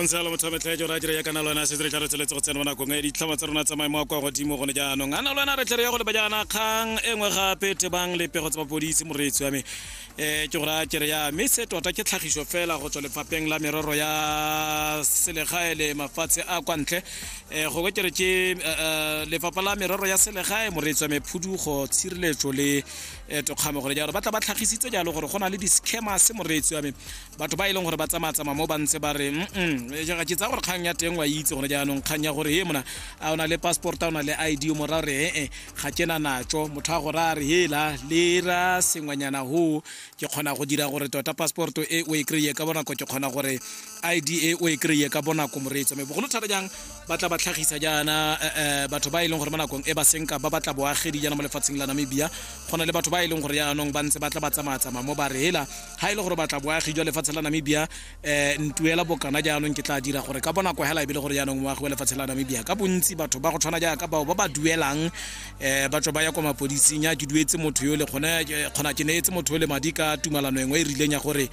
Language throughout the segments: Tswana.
Go ntse jalo, motho wa metlha jora dire ya kana lona se re tla re tsweletse go tsena mo nakong e ditlhoma tsa rona tsa maemo a kwa godimo gone jaanong. A na lona re tle re ya go leba jaana kgang e nngwe gape tebang le pego tsa mapodisi, moreetsi wa me. Ke go raya kere ya mme se tota ke tlhagiso fela go tswa Lefapheng la Merero ya Selegae le Mafatshe a kwa Ntle. Gongwe ke re ke Lefapha la Merero ya Selegae, moreetsi wa me, Phudugo, Tshireletso le Tokgamo, gore jalo ba tla ba tlhagisitse jalo gore go na le di-scammers, moreetsi wa me, batho ba e leng gore ba tsamaya-tsamaya mo ba ntse ba re mm ke tsaya gore kgang ya teng wa itse gone jaanong, kgang ya gore he mona, a o na le passport, a o na le ID? O mora gore ee, ga ke na natso. Motho a gore a re hela le ra sengwenyana ho, ke kgona go dira gore tota passport e o e kry-e ka bonako, ke kgona gore ID e o e kry-e ka bonako, moreetso. Mme bogolo thata jang ba tla ba tlhagisa jaana batho ba e leng gore mo nakong e ba senka ba batla boagedi jaana mo lefatsheng la Namibia. Go na le batho ba e leng gore jaanong ba ntse ba tla ba tsamaya-tsamaya mo ba re hela, ga e le gore batla boagi jwa lefatshe la Namibia, ntuela bokana, jaanong ke tla dira gore ka bonako hela e be le gore jaanong moagi wa lefatshe la Namibia. Ka bontsi batho ba go tshwana jaaka bao ba ba duelang, ba tswa ba ya kwa mapodising ya ke duetse motho yo le kgone kgona ke neetse motho yo le madi ka tumalano engwe e rileng ya gore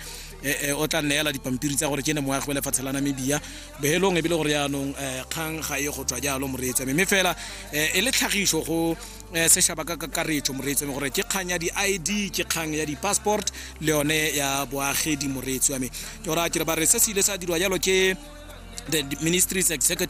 o tla neela dipampiri tsa gore ke ne moagi wa lefatshe la Namibia. Bohelong e be le gore jaanong kgang ga e go tswa jalo, moreetsi, mme fela e le tlhagiso go sešaba ka kakaretso, moreetsi wa me, gore ke kgang ya di-ID, ke kgang ya di-passport le yone ya boagedi, moreetsi wa me. Ke gore a kere ba re se se ile sa dirwa jalo ke the ministry's executive